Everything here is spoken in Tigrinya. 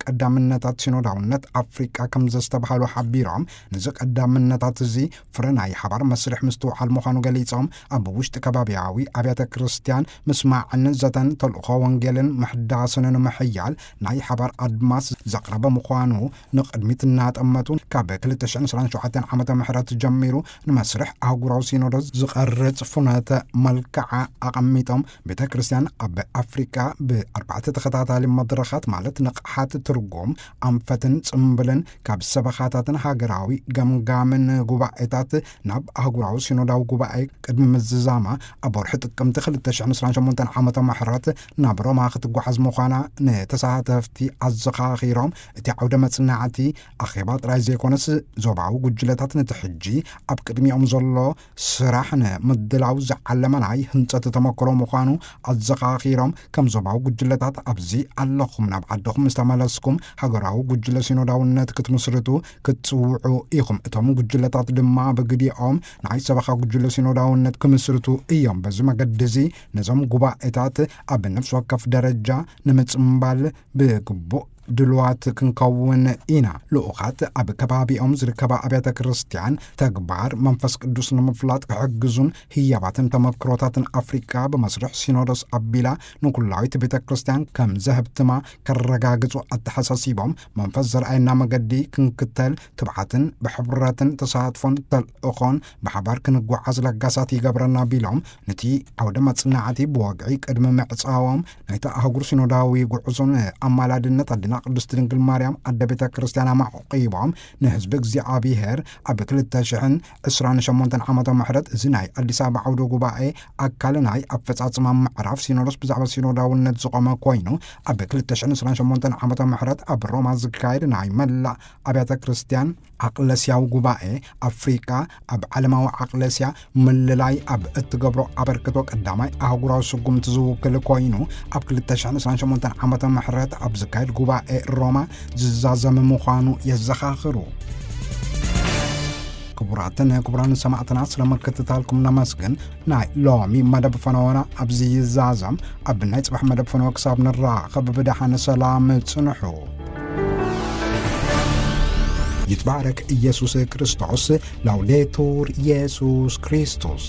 ቀዳምነታት ሲኖዳውነት ኣፍሪቃ ከም ዘስተብሃሉ ሓቢሮም፣ ነዚ ቀዳምነታት እዚ ፍረ ናይ ሓባር መስርሕ ምስትውዓል ምዃኑ ገሊጾም፣ ኣብ ውሽጢ ከባቢያዊ ኣብያተ ክርስቲያን ምስማዕን ዘተን ተልእኾ ወንጌልን ምሕዳስን ንምሕያል ናይ ሓባር ኣድማስ ዘቕረበ ምዃኑ ንቕድሚት እናጠመቱ፣ ካብ ክልተ ሽሕን ዕስራን ሸውዓተን ዓመተ ምህረት ጀሚሩ ንመስርሕ ኣህጉራዊ ሲኖዶስ ዝቐርጽ ፍኖተ መልክዓ ኣቐሚጦም፣ ቤተ ክርስቲያን ኣብ ኣፍሪቃ ብኣርባዕተ ተኸታታሊ መድረኻት፣ ማለት ንቕሓት ትርጉም፣ ኣንፈትን ጽምብልን፣ ካብ ሰበኻታትን ሃገራዊ ገምጋምን ጉባኤታት ናብ ኣህጉራዊ ሲኖዳዊ ጉባኤ ቅድሚ ምዝዛማ፣ ኣብ ወርሒ ጥቅምቲ ክልተ ሽሕን ዕስራን ሸሞንተን ዓመተ ምህረት ናብ ሮማ ክትጓዓዝ ምዃና ንተሳተፍቲ ኣዘኻኺሮም፣ እቲ ዓውደ መጽናዕቲ ኣኼባ ጥራይ ዘይኮነስ፣ ዞባዊ ጉጅለታት ነቲ ሕጂ ኣብ ቅድሚኦም ዘሎ ስራሕ ንምድላው ዝዓለመ ናይ ህንጸት ተመክሮ ምዃኑ ኣዘኻኺሮም፣ ከም ዞባዊ ጉጅለታት ኣብዚ ኣለኹም፣ ናብ ዓድኹም ምስ ተመለስኩም ሃገራዊ ጉጅለ ሲኖዳውነት ክትምስርቱ ክትጽውዑ ኢኹም። እቶም ጉጅለታት ድማ ብግዲኦም ናይ ሰበኻ ጉጅለ ሲኖዳውነት ክምስርቱ እዮም። በዚ መገዲ እዚ ነዞም ጉባኤታት ኣብ ነፍሲ ወከፍ ደረጃ ንምጽምባል ብግቡእ ድልዋት ክንከውን ኢና። ልኡኻት ኣብ ከባቢኦም ዝርከባ ኣብያተ ክርስቲያን ተግባር መንፈስ ቅዱስ ንምፍላጥ ክሕግዙን ህያባትን ተመክሮታትን ኣፍሪቃ ብመስርሕ ሲኖዶስ ኣቢላ ንኩላዊት ቤተ ክርስቲያን ከም ዘህብትማ ከረጋግጹ ኣተሓሳሲቦም፣ መንፈስ ዘርኣየና መገዲ ክንክተል ትብዓትን ብሕብረትን ተሳትፎን ተልእኾን ብሓባር ክንጓዓዝ ለጋሳት ይገብረና ቢሎም፣ ነቲ ዓውደ መጽናዕቲ ብወግዒ ቅድሚ ምዕጻዎም ናይታ ኣህጉር ሲኖዳዊ ጉዕዞን ኣማላድነት ኣዴና ቅድስት ድንግል ማርያም ኣደ ቤተ ክርስቲያን ኣማዕቂቦም፣ ንህዝቢ እግዚኣብሔር ኣብ ክልተ ሽሕን ዕስራን ሸሞንተን ዓመተ ምህረት እዚ ናይ ኣዲስ ኣበባ ዓውደ ጉባኤ ኣካል ናይ ኣፈጻጽማ ምዕራፍ ሲኖዶስ ብዛዕባ ሲኖዳውነት ዝቆመ ኮይኑ፣ ኣብ ክልተ ሽሕን ዕስራን ሸሞንተን ዓመተ ምህረት ኣብ ሮማ ዝካየድ ናይ መላእ ኣብያተ ክርስቲያን ኣቅለስያዊ ጉባኤ ኣፍሪቃ ኣብ ዓለማዊ ኣቅለስያ ምልላይ ኣብ እትገብሮ ኣበርክቶ ቀዳማይ ኣህጉራዊ ስጉምቲ ዝውክል ኮይኑ፣ ኣብ ክልተ ሽሕን ዕስራን ሸሞንተን ዓመተ ምህረት ኣብ ዝካየድ ጉባኤ ሮማ ዝዛዘም ምዃኑ የዘኻኽሩ። ክቡራትን ክቡራን ሰማዕትና፣ ስለ ምክትታልኩም ነመስግን። ናይ ሎሚ መደብ ፈነወና ኣብዚ ይዛዘም። ኣብ ናይ ጽባሕ መደብ ፈነወ ክሳብ ንራኸብ ብደሓን ሰላም ጽንሑ። ይትባረክ ኢየሱስ ክርስቶስ። ላውዴቱር ኢየሱስ ክርስቶስ።